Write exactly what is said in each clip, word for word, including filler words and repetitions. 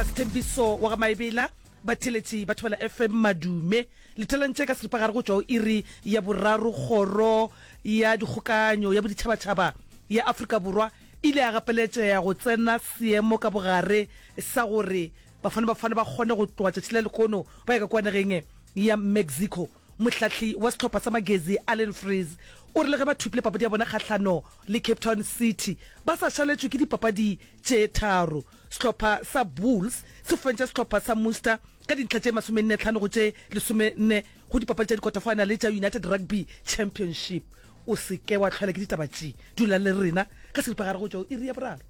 Rasithembiso wa ga Maebela, batheeletši ba Thobela F M madume. Lethelantše ka seripagare go tšwa go iri ya boraro. Kgoro ya Dikgokanyo ya Boditšhabatšhaba ya Afrika Borwa e ile ya gapeletšega go tsena seemo ka bogare sa gore Bafana Bafana ba kgone go tloga tšatši la lehono ba ya ka kua nageng ya Mexico. Mohlahli wa sehlopha sa Magezi Allen Freeze o re le ge ba thopile papadi ya bona kgahlano le Cape Town City ba sa šaletšwe ke dipapadi tše tharo. Sehlopha sa Bulls se fentše sehlopha sa Munster ka dintlha tše masomenne tlhano go tše lesomenne go dipapadi tša dikota-final tša United Rugby Championship. O se ke wa hlwela ke ditaba tše, dula le rena ka seripagare go tšwa go iri ya boraro.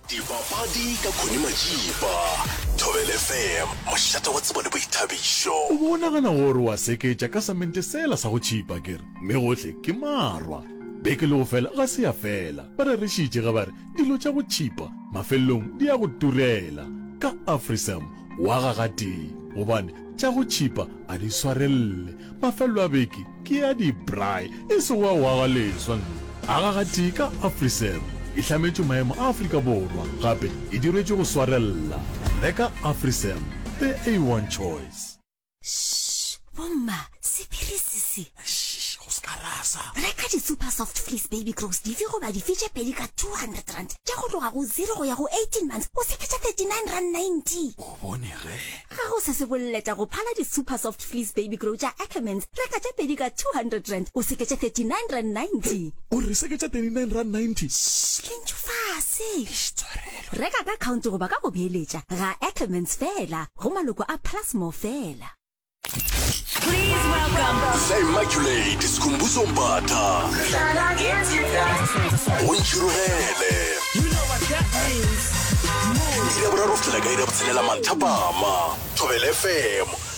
Dipapadi ka Connie Majiba, Thobela F M, mošate wa tsebo le boithabišo. O be o nagana gore wa seketša ka samente sela sa go tšhipa akere? Mme gohle ke marwa. Beke le go fela ga se ya fela. Ba rerešitše ge ba re dilo tša go tšhipa mafelelong di a go turela. Ka AfriSam o aga gatee gobane tša go tšhipa a di swarelele. Mafelelo a beke ke a di-braai e sego a go aga leswa nna. Aga gatee ka AfriSam. E hlametšwe maemo a Afrika Borwa gape e diretšwe go swarella. Reka AfriSam, the A one choice. Shh, bomma, sephiri se se. Shh, go se ka rasa. Reka di-super soft fleece baby grows dife goba dife tše pedi ka two hundred rand tša go tloga go zero go ya go eighteen months, o seketša thirty-nine rand ninety. O bone ge. Ga go se se boleta go phala di-super soft fleece baby grow tša Ackermans. Reka tše pedi ka two hundred rand, o seketše thirty-nine rand ninety. O re seketša thirty-nine rand ninety? Shh, lentšu fase. Reka ka account goba ka go beeletša ga Ackermans fela, go maloko a Plusmore fela. Please welcome The Immaculate Skhumbuzo Mbatha. Go ntšhirogele. You know what that means. Move. Iri ya boraro go fihlela ka iri ya botshelela manthapama. Thobela F M.